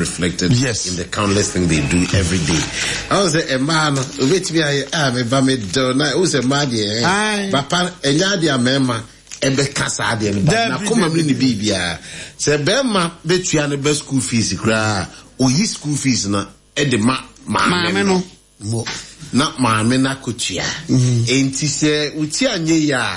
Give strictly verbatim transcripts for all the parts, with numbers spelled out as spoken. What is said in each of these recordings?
Reflected Yes. in the countless things they do every day. I was say mmaa no obetumi ayɛ a meba me dɔ na o sɛ mmaa deɛ Aye. ɛ papa ɛnyɛ adeɛ a mmarima ɛbɛka saa adeɛ no ba Dabi, na kɔma mu ne ne biribiara sɛ bɛrima bɛtua ne bɛ school fees koraa, oyi school fees na ɛde ma maame maame no no. Na maame no akɔtua. Enti sɛ wotia anyɛ yi a,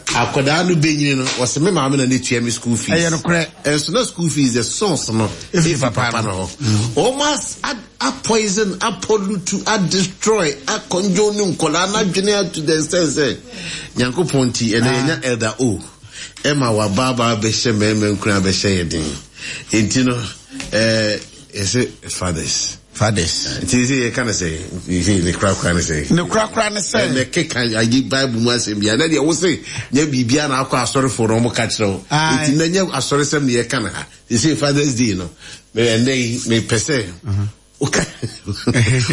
akwadaa no bɛnyini no, wɔsɛ me maame na ne tua me school fees. Ɛyɛ nokorɛ. Ɛnso na school fees, the source no ɛfiri ɛfiri papa papa no hɔ. Wɔn as a a poison, a pollute, a destroy, a conjure ne nkɔlaa n'adwene to the extent sɛ Nyankopɔn ti ɛnna yɛnya Elder O ɛma wabaabaa bɛhyɛ mmarima nkura bɛhyɛ yɛ den. Enti no ɛɛ yɛsɛ fathers. Fathers. Nti sɛ yɛka no sɛ sɛ ne korakora ne sɛ Ne korakora ne sɛ. Ɛnɛ keka ayi Bible mu asɛm bia na deɛ wo se nyɛ biribia na akɔ asɔrefoɔ no ɔmo ka kyerɛ wo. Aye. Nti na nyɛ asɔresɛm ne yɛka no ha. Sɛ Fathers Day no, me ɛnɛ yi mepɛ sɛ woka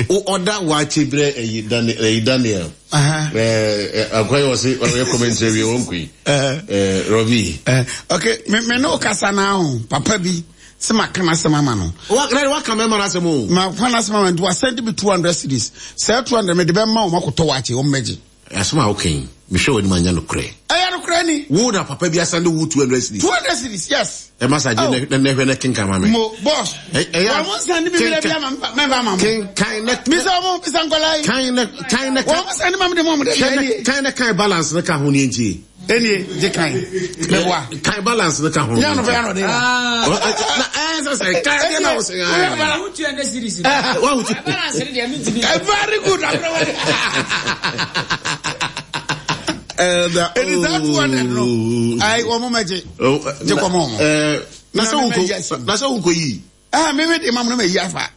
wo ɔda waakye berɛ ɛyi Daniel ɛyi Daniel Aha. ɛɛ akɔyɛ wɔ se ɔyɛ commentary wie wɔn kɔ yi ɛɛ Robbie. Eh, okay, me me ne wo kasa na ho papa bi sɛ maka n'asɛm ama no. Wa na waka mɛma no asɛm o. Maka n'asɛm ama no nti wasend me two hundred cedis. Sɛ two hundred mede bɛma wɔn akɔtɔ waakye, wɔn mmɛgye. Asɛm a woka yi, mehwɛ w'anim anya nokorɛ. Ɛyɛ nokorɛ ni. Wo na papa bi asend wo two hundred cedis? Two hundred cedis, yes. Ɛma sa gye Oh. na na hwɛ na kenkan ma me. Mo boss. Ɛ- ɛyɛ a- Wɔn mo nsend mi bi bi ama mɛmfa ama mo. Kenkan na Bisa wɔn, bisa nkɔla yi. kan na kan na Wɔn mo send ma mi de mo mo de kan na ɛnie. kan na kan balance no ka ho ne ntie. Ɛnie gye kan. Mɛboa. Kan balance no ka ho. Nyɛ no fɛ yanɔ de la. Ɔ- ɔ- na ɛɛ sɛ sɛ kan deɛ na wo sɛ ɛɛ. Wo two hundred cedis. Wa wo tu- Balance ne deɛ mentumi. Eh, very good. Abrɛwɛ. Ɛɛ Ɛni saa two hundred no. Ayi, wɔn mo mɛgye. Oh, Gye kɔmɔ wɔn. ɛɛ na sɛ Na wo me mɛgye. na sɛ wo nkɔ yi. Ah, mi mi de ma mo na ma yi afa.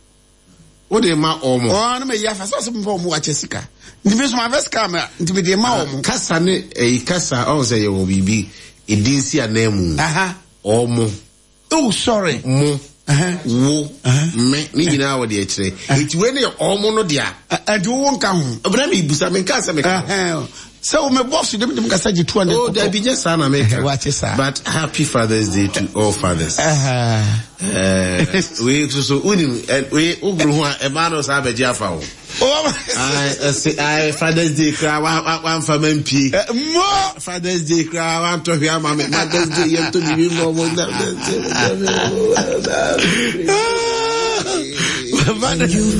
Wo de ma ɔmo. Ɔɔ, na ma yi afa. Sɛ ɔsɛ mo fɛ ɔmo wakyɛ sika. Nti mi nso ma fɛ sika ma nti mi de ma wɔn. Kasa ne ɛyi kasa ɔn sɛ yɛwɔ biribi edi nsi anan mu. Aha. Ɔmo. Oh, sorry. Mo. Uh-huh. Wo. Me ne nyinaa wɔ deɛ kyerɛ. Eti wei ne yɛ ɔmo no dea. Ɛnti wo nka ho. Ɔbɛn mi busa mi nka sɛ mi ka ho. Ɛhɛn. Sɛ wo mɛ boss de mi de mi kasa gye two hundred. Oh, dabi, nyɛ saa na meka. Wakye saa. But happy Father's Day to all fathers. Ɛhɛn. Ɛɛ wei soso wonim ɛ wei wogoro ho a ɛmaa no saa abɛgye afa wo. Oh, Ayi ɛsɛ ayi Father's Day koraa wa wa wamfa ma mpie. Mo. Father's Day koraa wantɔ hwɛ ama me. Mother's Day yɛn to bibi mɔ mo na. Father's